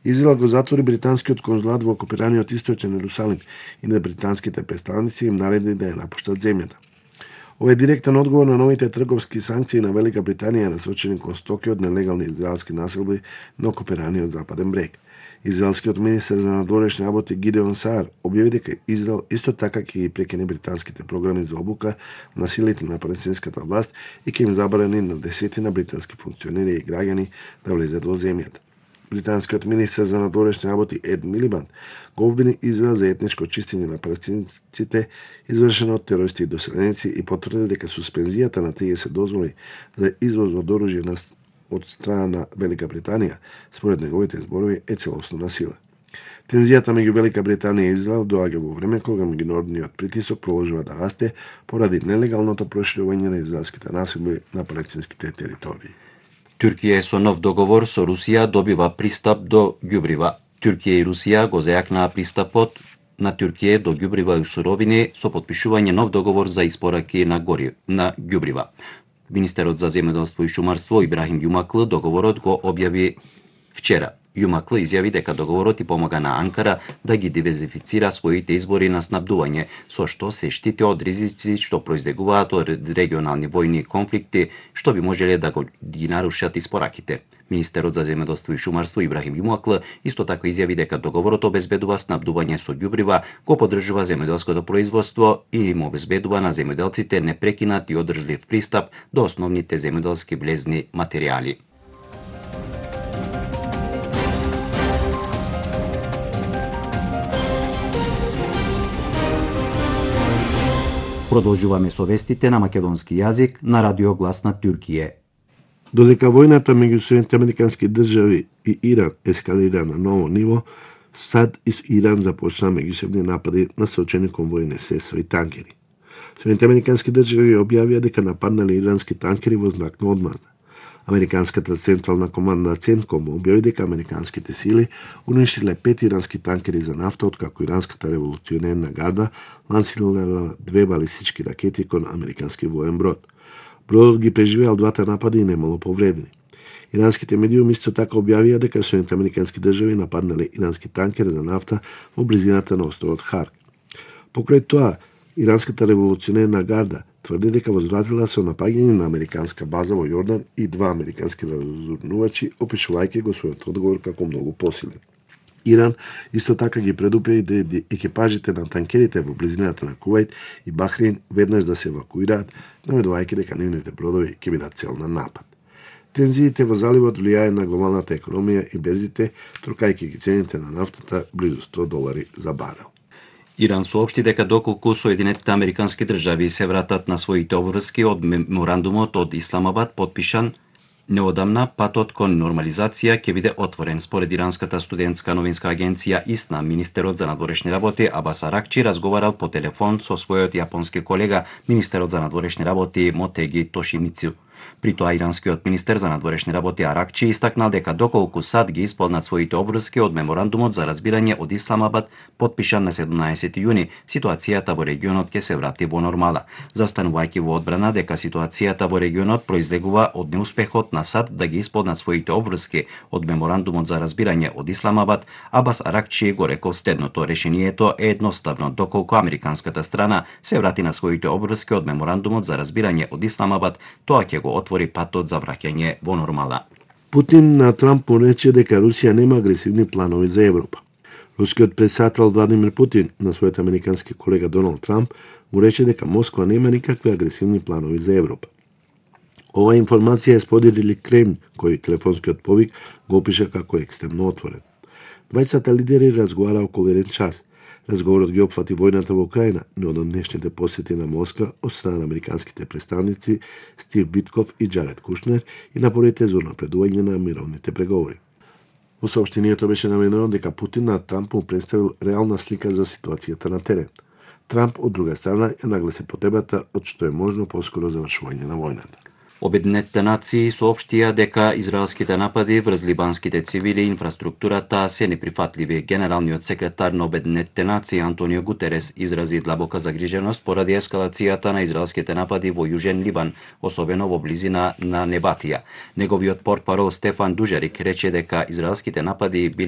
Израел го затвори британскиот конзулат во окупираниот Источен Ерусалим и на британските представници им нареди да ја напуштат земјата. Ова е директен одговор на новите трговски санкции на Велика Британија насочени кон стоки од нелегални израелски населби на окупираниот Западен брег. Израелскиот министер за надворешни работи Гидеон Саар објави дека Израел исто така ќе ги прекине британските програми за обука на силите на палестинската власт и ќе им забрани на десетина британски функционери и граѓани да влезат во земјата. Британскиот министер за надворешни работи Ед Милибанд го обвини Израел за етничко чистење на палестинците извршено од терористи и доселеници и потврди дека суспензијата на 30 дозволи за извоз од оружје од страна на Велика Британија, според неговите зборови, е целосно насила. Тензијата меѓу Велика Британија и Израел доаѓа во време кога меѓународниот притисок продолжува да расте поради нелегалното проширување на израелските населби на палестинските територии. Туркија со нов договор со Русија добива пристап до ѓубрива. Туркија и Русија го зајакнаа пристапот на Туркија до ѓубрива и суровини со потпишување нов договор за испораки на ѓубрива. Министерот за земјоделство и шумарство Ибрахим Јумаклы договорот го објави вчера. Јумаклы изјави дека договорот и помага на Анкара да ги диверзифицира своите извори на снабдување, со што се штити од ризици што произлегуваат од регионални војни конфликти, што би можеле да ги нарушат испораките. Министерот за земјоделство и шумарство Ибрахим Јумаклы исто така изјави дека договорот обезбедува снабдување со ѓубрива, го поддржува земјоделското производство и им обезбедува на земјоделците непрекинат и одржлив пристап до основните земјоделски влезни материјали. Продолжуваме со вестите на македонски јазик на Радио Глас на Туркија. Додека војната меѓу Соединетите американски држави и Иран ескалира на ново ниво, САД и Иран започнаа меѓусебни напади насочени кон војни средства и танкери. Соединетите американски држави објавија дека нападнале ирански танкери во знак на одмазда. Американската централна команда Центком објави дека американските сили уништиле 5 ирански танкери за нафта, откако иранската револуционерна гарда лансирала 2 балистички ракети кон американски воен брод. Бродот ги преживеал двата напади и немало повредени. Иранските медиуми исто така објавија дека Соединетите американски држави нападнале ирански танкер за нафта во близината на островот Харк. Покрај тоа, иранската револуционерна гарда тврди дека возвратила со напаѓање на американска база во Јордан и 2 американски разузнавачи, опишувајќи го својот одговор како многу посилен. Иран исто така ги предупреди екипажите на танкерите во близината на Кувајт и Бахрейн веднаш да се евакуираат, наведувајќи дека нивните бродови ќе бидат цел на напад. Тензиите во заливот влијае на глобалната економија и берзите, трукајќи ги цените на нафтата близу $100 за барел. Иран соопшти дека доколку Соединетите американски држави се вратат на своите обврски од меморандумот од Исламабад подпишан неодамна, патот кон нормализација ќе биде отворен. Според иранската студентска новинска агенција ИСНА, министерот за надворешни работи Абас Аракчи разговарал по телефон со својот јапонски колега, министерот за надворешни работи Мотеги Тошимицу. При тоа иранскиот министер за надворешни работи Аракчи истакнал дека доколку САД ги исполнат своите обврски од меморандумот за разбирање од Исламабад, подпишан на 17 јуни, ситуацијата во регионот ќе се врати во нормала, застанувајќи во одбрана дека ситуацијата во регионот произлегува од неуспехот на САД да ги исполнат своите обврски од меморандумот за разбирање од Исламабад. Абас Аракчи го рекол следното: решението е едноставно, доколку американската страна се врати на своите обврски од меморандумот за разбирање од Исламабад, тоа ќе го отвори патот за враќање во нормала. Путин на Трамп му рече дека Русија нема агресивни планови за Европа. Рускиот председател Владимир Путин на својот американски колега Доналд Трамп му рече дека Москва нема никакви агресивни планови за Европа. Ова информација е споделили Кремљ, кој телефонскиот повик го опиша како екстремно отворен. Двајцата лидери разговара околу 1 час. Разговорот ги опфати војната во Украина, но од днешните посети на Москва од страна на американските представници Стив Битков и Джаред Кушнер и напорите за напредување на мировните преговори. Во соопштението беше наведено дека Путин на Трамп му представил реална слика за ситуацијата на терен. Трамп, од друга страна, ја нагласи потребата од што е можно поскоро завршување на војната. Обединетите нации соопштија дека израелските напади врз либанските цивили и инфраструктурата се неприфатливи. Генералниот секретар на Обединетите нации Антонио Гутерес изрази длабока загриженост поради ескалацијата на израелските напади во Јужен Либан, особено во близина на Небатија. Неговиот портпарол Стефан Дужарик рече дека израелските напади